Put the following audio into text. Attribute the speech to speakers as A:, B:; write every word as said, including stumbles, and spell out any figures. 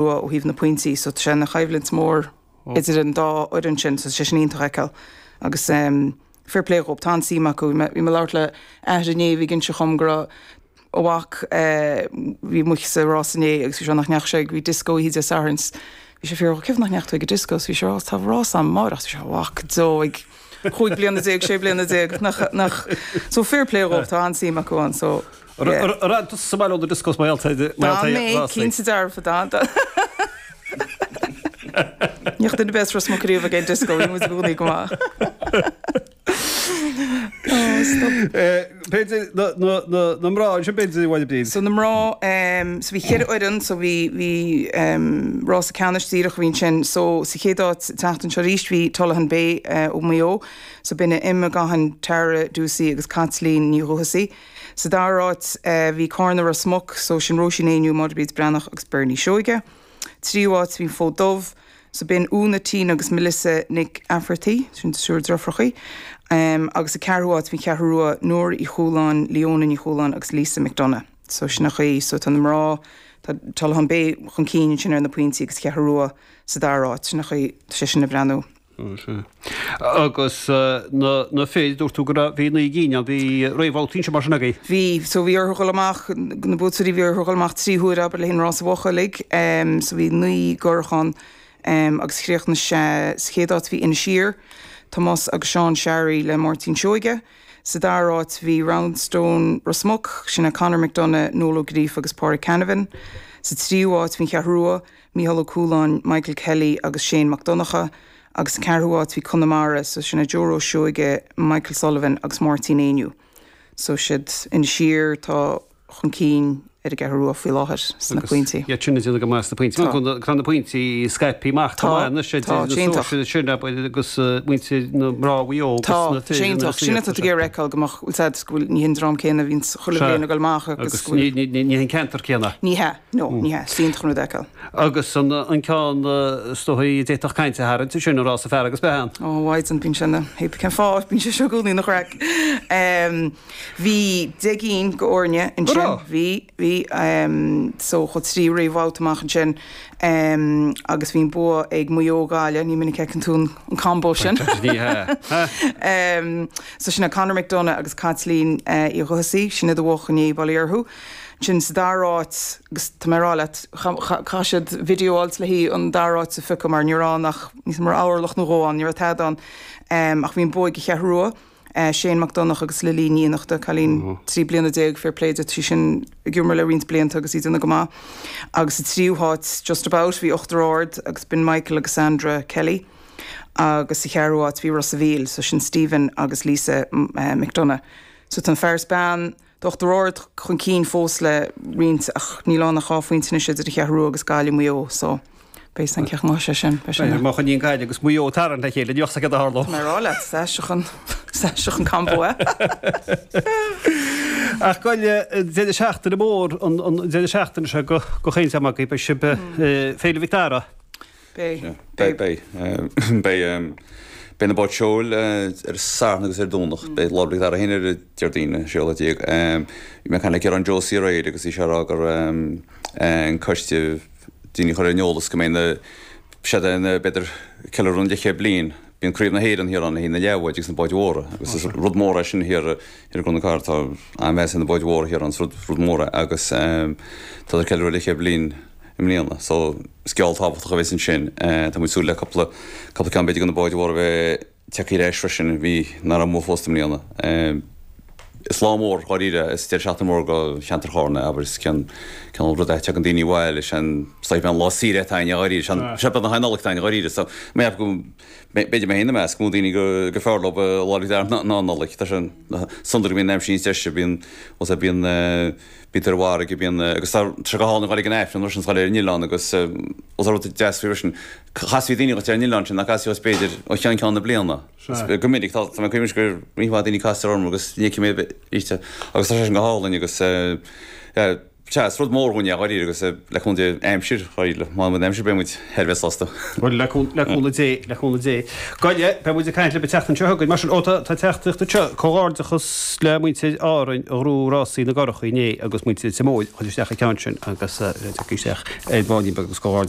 A: Rua ó thaobh na pointí so tá sé ina choimhlint mór idir an dá fhoireann sin so sé sin iontach a fheiceáil agus um, fair play dhób tá an-suim acu. Bhí mé ag labhairt le athair inné bhí ag inse dhom go raibh a mhac eh, bhí muid sa rás inné agus bhí sé nach ndeachaigh sé bhí disco oíche Dé Sathairn bhí sé fiú cén fáth nach ndeachaigh tú ag an disco bhí sé rás tá rás amárach bhí sé mhac dó ag chúig bliana déag sé bliana déag nach nach so fair play dhób tá an-suim acu ann so
B: Ar sa bhaile ó discos mar
A: Tá mé cinnte dearfa dá Níoch duine bes ros mo riamh ag an disco bhí muid i gcónaí go maith.
B: B'fhéidir na mná sin b'fhéidir bhaile bríd.
A: So na mná so bhí ceithre fhoireann so bhí bhí rása ceannais díreach bhí sin so sa chéad áit teacht anseo arís bhí Tullahan Bay ó Mhaigh Eo so b'in Emma Gahan Tara Ducey agus Caitlín Ní Dhúthasaí. Sa dara háit bhí Cárna Ros Muc so sin Róisín Éinniú Máire Bríd Breathnach agus Bernie Seoige. Tríú háit bhí Fód Dubh so b'in Úna Tina agus Melissa Nic Afferty sin triúr deirfiúrachaí. Um, agus sa ceathrú háit bhí Ceathrú Rua Nóra Uí Chualáin, Leona Ní Chualáin agus Lisa McDonough. So sin an chaoi so tá na mná tá Tullahan Bay chun cinn sin ar na pointí agus Ceathrú Rua sa dara háit sin an chaoi sé sin ag breathnú.
B: Agus na na fir dúirt tú go raibh bhí naoi gcinn ann bhí réamhbhabhtaí ansin mar sin agaibh.
A: Bhí so bhí orthu dhul amach na buaiteoirí bhí orthu dhul amach trí huaire abair le haghaidh an rása bhuach uilig um, so bhí naoi gcurach ann um, agus chríochnaigh sé sa chéad áit bhí Inis Oírr, Tomás agus Seán Searaí le Máirtín Seoige. Sa dara háit bhí Roundstone Ros Muc, sin é Conor McDonough, Noel Ó Gríofa agus Pádraig Canavan. Sa tríú háit bhí an Cheathrú Rua, Mícheál Ó Cualáin, Michael Kelly agus Shane Mac Donncha. Agus sa ceathrú háit bhí Conamara, so sin é Joe Rose Seoige, Michael Sullivan agus Máirtín Éinniú. So siad Inis Oírr tá chun cinn ar an gCeathrú Rua faoi láthair sna pointí.
B: Iad sin ag déanamh go maith sna pointí. Tá na pointí scaipthe amach go maith anois
A: Tá, tá, iontach.
B: Sin agus muintir na mná Mhaigh Eo
A: Tá, sé iontach. Sin atá tú ag iarraidh a fheiceáil go mbeadh úsáid go bhfuil ní hin dream céanna a bhíonn chuile bhliain ag dul amach agus go bhfuil
B: Ní hin ceantar céanna.
A: Ní hea, no, ní hea. Is iontach an rud a fheiceáil.
B: Agus an ceann is dóichí a d'fhéadfadh caint a tharraingt, sin an rása fear agus bean.
A: Ó, mhaighdean, bíonn sé ina, cén fáth, bíonn sé seo i gcónaí ina chraic. Bhí deich gcinn go fhoirne ansin. Bhí, bhí. So chuaigh trí réamhbhabhta amach ansin agus bhí an bua ag Maigh Eo Gaillimh, ní minic a fheiceann tú an combo sin.
B: Ní hea.
A: So sin é Conor McDonagh agus Caitlín Uí Dhubhthasaigh, sin iad a bhuaigh inné, bail ó Dhia orthu. Ansin sa dara háit, agus tá mé ag rá leat, chaith siad video a fháilt le haghaidh an dara háit a phiocadh mar ní raibh ann ach níos mó orlach nó dhó ann, ní raibh tada ann. Ach bhí an bua ag an Cheathrú Rua, Shane Mac Donncha agus Lily Ní Fhiannachta, cailín trí bliana déag, fair play di, tá sí sin ag imirt le roinnt blianta agus í ag déanamh go maith. Agus sa tríú háit, just about, bhí Uachtar Ard agus b'in Michael agus Sandra Kelly. Agus sa cheathrú háit bhí Ros a' Mhíl, so sin Stephen agus Lisa McDonagh. So tá an fear is bean d'Uachtar Ard chun cinn fós le roinnt ach níl ann ach dhá phointe anois idir an Cheathrú Rua agus Gaillimh Maigh Eo so beidh san cén chaoi sé sin. Beidh sin.
B: Má choinníonn Gaillimh agus Maigh Eo ag tarraingt le chéile ní bheadh céard a tharlódh.
A: Tá mé ag rá leat, is aisteach an is aisteach an combo é.
B: Ach goil deireadh seachtaine mór an deireadh seachtaine seo go go chaon am agaibh beidh sibh Féile Mhic Dara.
A: Beidh.
C: Beidh, beidh. Beidh, beidh na báid seoil ar an Satharn agus ar an Domhnach. Beidh Lá 'le Mhic Dara féin ar an Déardaoin, an séú lá déag. Bhí mé ag caint le Ciarán Josie aréir agus bhí sé ag rá gur an coiste daoine a chur ar an eolas go mbeidh na, siad an, b'fhéidir, ceiliúradh an leathchéad bliain. Bíonn Craobh na hÉireann thiar ann le haghaidh na leathbháid agus na báid mhóra agus is rud mór é sin thiar i gCuan na Cathrach. Tá an-mheas ar na báid mhóra thiar ann, is rud, rud mór é agus tá siad ag ceiliúradh leathchéad bliain. i mbliana. So, scéal tábhachtach a bheas ansin. Tá muid ag súil le cúpla, cúpla ceann b'fhéidir de na báid mhóra a bheith tagtha ar ais freisin a bhí, nach raibh amuigh fós i mbliana. Is lá mór, dháiríre, is deireadh seachtaine mór do cheantar Chárna, abair, is cén, cineál rud é, tagann daoine abhaile, is é an, is é an lá saoire atá againne, dháiríre, is é an, is é beagnach an Nollaig atá againne, dháiríre, so, mé ag ceapadh go, b'fhéidir mé féin ina measc, go mó daoine go, gur fearr leo Lá 'le Mhic Dara ná an Nollaig. Tá sé sonrach go mbíonn an aimsir níos deise, bíonn, bíonn, Bíonn tú ar an bhfarraige, bíonn, agus tá sé go hálainn a dhul ag an Aifreann freisin, is a dhul ar an oileán agus os rud deas faoi freisin, casfaí daoine dhuit ar an oileán sin nach gcasfaí dhuit b'fhéidir ó cheann ceann na bliana. Go minic, tá mé ag cuimhneamh go roinnt mhaith daoine castar orm agus ní fheicim iad arís agus tá sé sin go hálainn agus yeah, Sea, is rud mór dhúinn é, dháiríre, agus le cúnamh Dé aimsir, dháiríre, má bhíonn aimsir beidh muid thar a bheith sásta.
B: Bhuel, le cúnamh Dé, le cúnamh Dé. Goile, beidh muid ag caint libh an tseachtain seo chugainn. Mar sin, ó, tá teachtaireacht anseo, comhghairdeachas le muintir Árainn a ghnóthaigh rásaí na gcurachaí inné agus muintir Tír Móir a chuir isteach an ceann sin agus le tiocfaidh isteach ar bháinín beag agus comhghairdeachas.